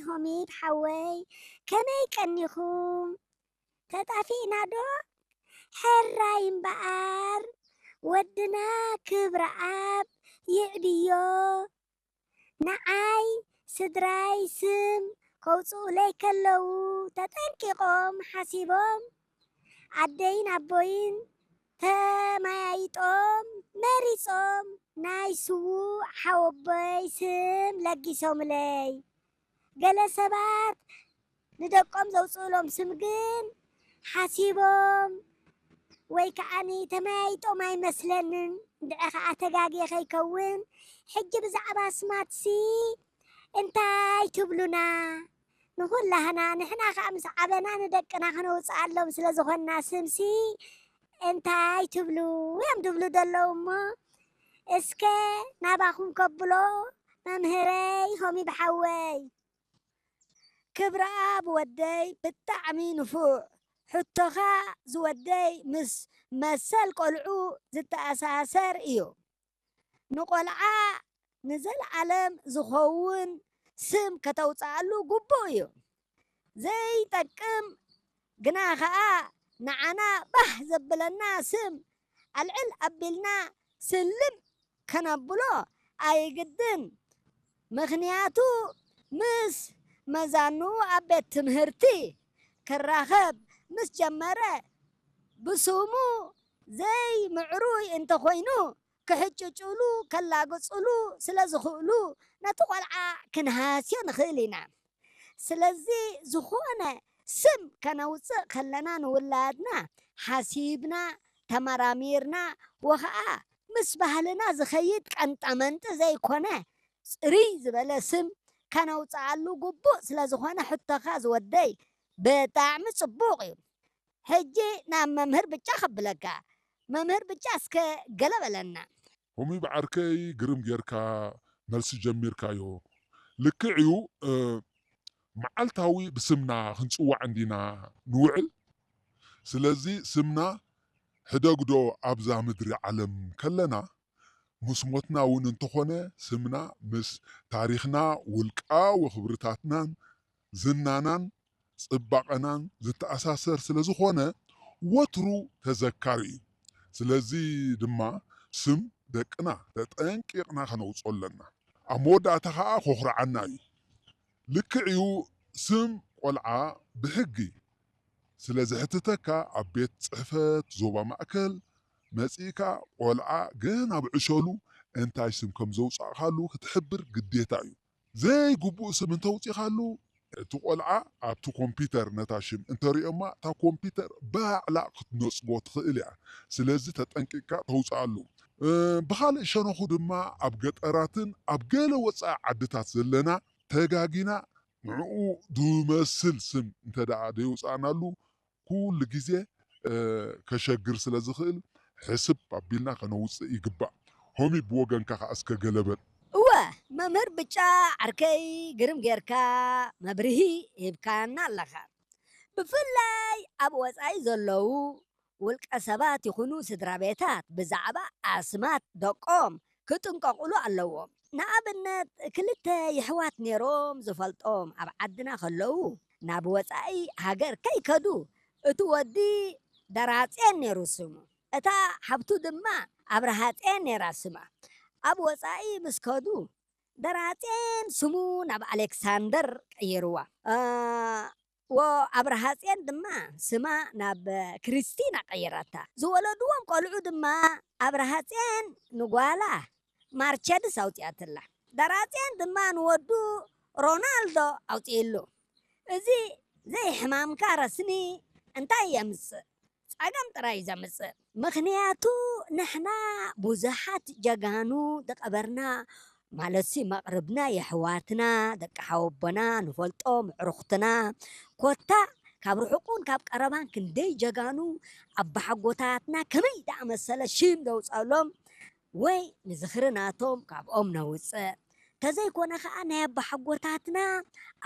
ሆሚድ ሓወይ፣ ከመይ ቀኒኹም? ተጣፊእና ዶ? ሕራይ እምበኣር፣ ወድና ክብረኣብ ይዕብዮ። ንዓይ ስድራይ ስም ከውጽኡለይ ከለዉ፣ ተጠንቂቖም ሓሲቦም፣ ኣደይን ኣቦይን ተመያይጦም መሪጾም ናይ ስዉእ ሓወቦይ ስም ለጊሶምለይ። ገለ ሰባት ንደቆም ዘውጽኡሎም ስም ግን ሓሲቦም ወይ ከዓኒ ተመያይጦም ኣይመስለንን። እንድዒ ከኣ ተጋግየ ከይከውን፣ ሕጂ ብዛዕባ ኣስማትሲ እንታይ ትብሉና? ንኹላህና፣ ንሕና ከኣ ምስ ዓበና ንደቅና ከነውጽኣሎም ስለ ዝኾንና ስምሲ እንታይ ትብሉ እዮም ድብሉ ዘለዉ እሞ፣ እስከ ናባኹም ከብሎ መምህረይ ሆሚ ብሓወይ። ክብረኣብ ወደይ ብጣዕሚ ንፉዕ። ሕቶኻ ዝወደይ ምስ መሰል ቆልዑ ዝተኣሳሰር እዩ። ንቆልዓ ንዘለዓለም ዝኸውን ስም ከተውፅኣሉ ግቡእ እዩ። ዘይጠቅም ግና ኸዓ ንዓና ባህ ዘብለና ስም ኣልዕል ኣቢልና ስልም ከነብሎ ኣይግድን። ምኽንያቱ ምስ መዛንኡ ኣብ ቤት ትምህርቲ ክራኸብ ምስ ጀመረ ብስሙ ዘይምዕሩይ እንተኾይኑ ክሕጭጭሉ ከላግፅሉ ስለ ዝኽእሉ ነቲ ቆልዓ ክንሃስዮ ንኽእል ኢና። ስለዚ ዝኾነ ስም ከነውፅእ ከለና ንውላድና ሓሲብና ተመራሚርና ወኸዓ ምስ ባህልና ዝኸይድ ቀንጠመንጢ ዘይኮነ ፅርይ ዝበለ ስም ከነውፅኣሉ ግቡእ ስለ ዝኾነ ሕቶኻ ዝወደይ ብጣዕሚ ፅቡቕ እዩ። ሕጂ ናብ መምህር ብጫ ከብለካ። መምህር ብጫ እስከ ገለ በለና። ሆሚ ብዓርከይ ግርም ጌርካ መልሲ ጀሚርካዮ። ልክዕ እዩ። መዓልታዊ ብስምና ክንጽዋዕ እንዲና ንውዕል። ስለዚ ስምና ሕደግዶ ኣብዛ ምድሪ ዓለም ከለና ምስ ሞትና እውን እንተኾነ ስምና ምስ ታሪኽና ውልቃዊ ክብርታትናን ዝናናን ጽባቐናን ዝተኣሳሰር ስለ ዝኾነ ወትሩ ተዘካሪ እዩ። ስለዚ ድማ ስም ደቅና ተጠንቂቕና ከነውፅኦ ኣለና። ኣብ መወዳእታ ኸዓ ኮኹርዓና እዩ። ልክዕ እዩ፣ ስም ቆልዓ ብሕጊ ስለ ዝሕትተካ ኣብ ቤት ፅሕፈት ዞባ ማእከል መፂእካ ቆልዓ ገና ብዕሸሉ እንታይ ስም ከም ዘውፃእካሉ ክትሕብር ግዴታ እዩ። ዘይግቡእ ስም እንተውፂኻሉ እቲ ቆልዓ ኣብቲ ኮምፒተር ነታ ሽም እንተሪኦማ እታ ኮምፒተር ባዕላ ክትነፅጎ ትኽእል እያ። ስለዚ ተጠንቂቕካ ተውፅኣሉ። ብኻልእ ሸነኹ ድማ ኣብ ገጠራትን ኣብ ገለ ወፃኢ ዓድታት ዘለና ተጋጊና ንዕኡ ዝመስል ስም እንተ ደኣ ደይውፃእናሉ ኩሉ ግዜ ከሸግር ስለ ዝኽእል ሕስብ ኣቢልና ከነውፅእ ይግባእ። ሆሚ ብወገንካ ከኣ እስከ ገለ በል። እወ፣ መምህር ብጫ ዓርከይ ግርም ጌርካ መብርሂ ሂብካና ኣለኻ። ብፍላይ ኣብ ወጻኢ ዘለዉ ውልቀ ሰባት ይኹኑ ስድራ ቤታት ብዛዕባ ኣስማት ደቆም ክጥንቀቑሉ ኣለዎም። ንኣብነት ክልተ የሕዋት ነይሮም ዝፈልጦም ኣብ ዓድና ከለዉ ናብ ወጻኢ ሃገር ከይከዱ እቲ ወዲ ደራጼን ነይሩ ስሙ፣ እታ ሓብቱ ድማ ኣብርሃጼን ነይራ ስማ። ኣብ ወጻኢ ምስ ከዱ ደራጼን ስሙ ናብ ኣሌክሳንደር ቀይርዋ። እ፣ ወ ኣብርሃጼን ድማ ስማ ናብ ክርስቲና ቀይራታ። ዝወለድዎም ቆልዑ ድማ ኣብርሃጼን ንጓላ ማርቸድስ ኣውጺኣትላ። ደራጼን ድማ ንወዱ ሮናልዶ ኣውጺእሉ። እዚ ዘይሕማምካ ረስኒ እንታይ የምጽእ? ጸገም ጥራይ እዩ ዘምጽእ። ምኽንያቱ ንሕና ብዙሓት ጀጋኑ ዝቐበርና ማለትሲ መቕርብና የሕዋትና፣ ደቂ ሓወቦና፣ ንፈልጦም፣ ኣዕሩኽትና፣ ኮታ ካብ ርሑቕ እውን ካብ ቀረባን ክንደይ ጀጋኑ ኣባሓጎታትና ከመይ ዝኣመሰለ ሽም ዘውጸሎም ወይ ንዝኽሪ ናቶም ካብኦም ነውጽእ። ተዘይኮነ ኸኣ ናይ ኣባሓጎታትና